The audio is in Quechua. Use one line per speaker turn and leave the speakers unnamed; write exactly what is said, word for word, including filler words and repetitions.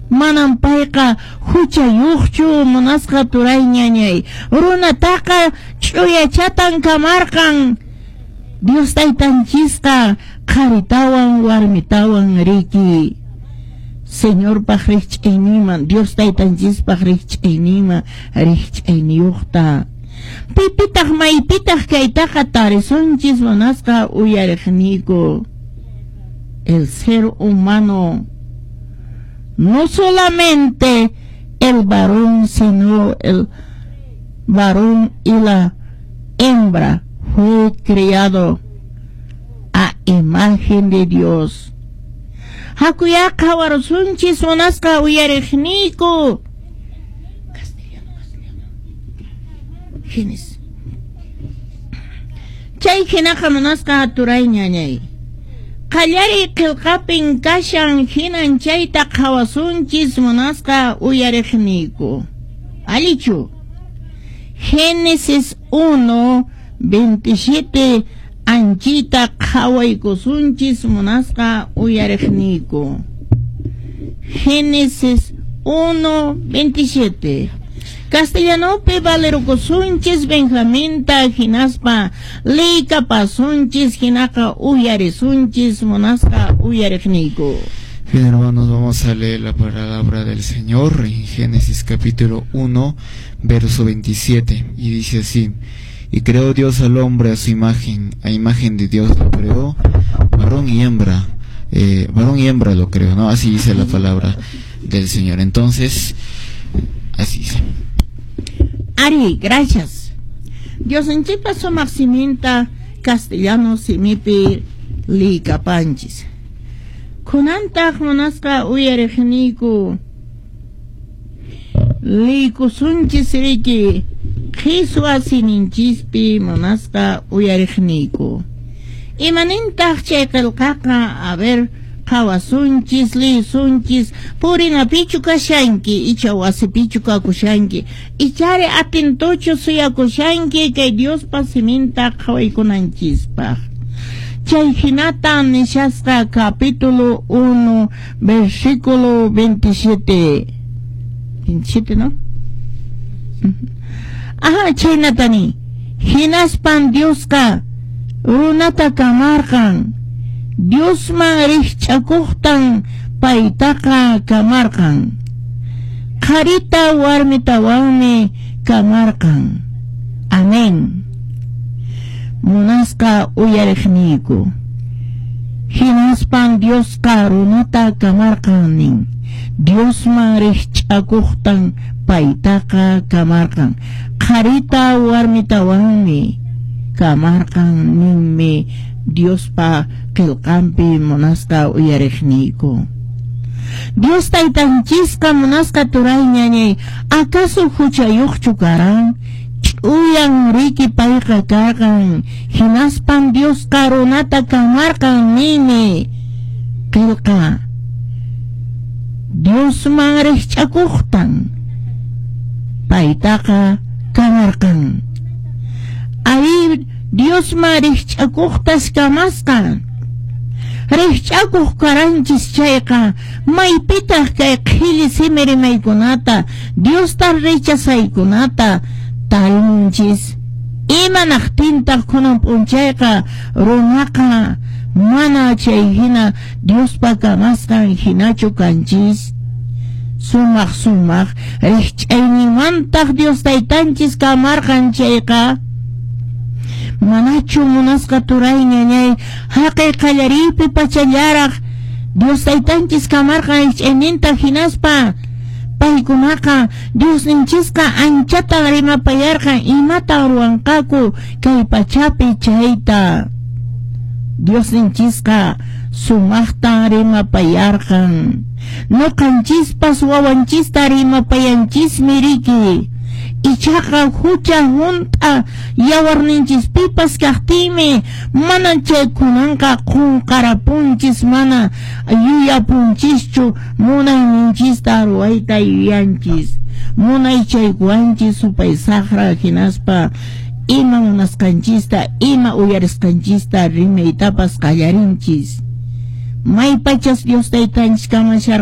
Manan payqa huchayuqchu munasqa turay ñañay. Runataqa ch'uyachatan kamarqan. Dios taytanchisqa qharitawan warmitawan riki. Señorpaq rikch'ayninman, Dios taytanchispaq rikch'ayninman rikch'ayniyuqta. Pipitaq maypitaq kaytaqa tarisunchis munasqa uyariqniyku. El ser humano, no solamente el varón, sino el varón y la hembra fue criado a imagen de Dios. Hakuyá qhawarusunchis munasqa uyariqniyku. Castellano, castellano. Génesis. Chay hinaqa munasqa turay ñañay. Qallariy qillqapin kashan hinan chayta qhawasunchis munasqa uyariqniyku. Allichu. Génesis uno, veintisiete anchita qhawaykusunchis munasqa uyariqniyku. Génesis uno, veintisiete. Castellanopi valerukusunchis Benjaminta hinaspa liykapasunchis hinaqa uyarisunchis munasqa uyariqniyku.
Bien, hermanos, vamos a leer la palabra del Señor en Génesis capítulo uno, verso veintisiete, y dice así: Y creó Dios al hombre a su imagen, a imagen de Dios lo creó, varón y hembra, eh, varón y hembra lo creó, ¿no? Así dice la palabra del Señor. Entonces, así dice.
Ari, gracias. Diosninchikpa sumaq siminta castellano simipi liykapanchis. Kunantaq munasqa uyariqniyku liykusunchis riki qhiswa siminchispi munasqa uyariqniyku. Imanintaq chay qillqaqa? A ver, qhawasunchis, liyisunchis, purinapichu kashanki, icha wasipichu kakushanki, ichari atentochu suyakushanki kay Diospa siminta qhawaykunanchispaq. Chay hinata nishasqa capítulo uno, versículo veintisiete. veintisiete, ¿no? Ajá, chaynatani. Hinaspan Diosqa runata kamarqan. Diosman rikch'akuqtan paytaqa kamarqan. Qharita warmitawanmi kamarqan. Amén. Munasqa uyariqniyku. Hinaspan Diosqa runata kamarqan nin. Diosman rikch'akuqtan paytaqa kamarqan. Qharita warmitawanmi kamarqan ninmi Diospa qillqanpi munasqa uyariqniyku. Dios taytanchisqa munasqa turay ñañay, ¿acaso huchayuqchu karan? Ch'uyan riki payqa karqan. Hinaspan Diosqa runata kamarqan ninmi qillqa. Diosman rikch'akuqtan paytaqa kamarqan. Ari Diosman rikch'akuqtas kamasqa. Rikch'akuq karanchis chayqa maypitaq kay qhilli simi rimaykunata Diosta rechazaykunata tarinchis. Imanaqtintaq kunan p'unchayqa runaqa mana chay hina Diospa kamasqan hinachu kanchis. Sumaq sumaq rikch'ayninmantaq Dios taytanchis kamarqan chayqa manachu munasqa turay ñañay haqay qallariypi pachallaraq Dios taytanchis kamarqan rikch'ayninta hinaspa paykunaqa Diosninchisqa anchatan rimapayarqan imatan ruwanqaku kay pachapi chayta. Diosninchisqa sumaqtan rimapayarqan. Nuqanchispas wawanchista rimapayanchismi riki. Ichaqa hucha hunt'a yawarninchispipas kaqtinmi mana chaykunanqa qunqarapunchis, mana yuyapunchischu munayninchista ruwayta yuyanchis. Munay chaykuwanchis supay saqra hinaspa ima munasqanchista ima uyarisqanchista rimaytapas qallarinchis. Maypachas Dios taytanchis kamasharqan.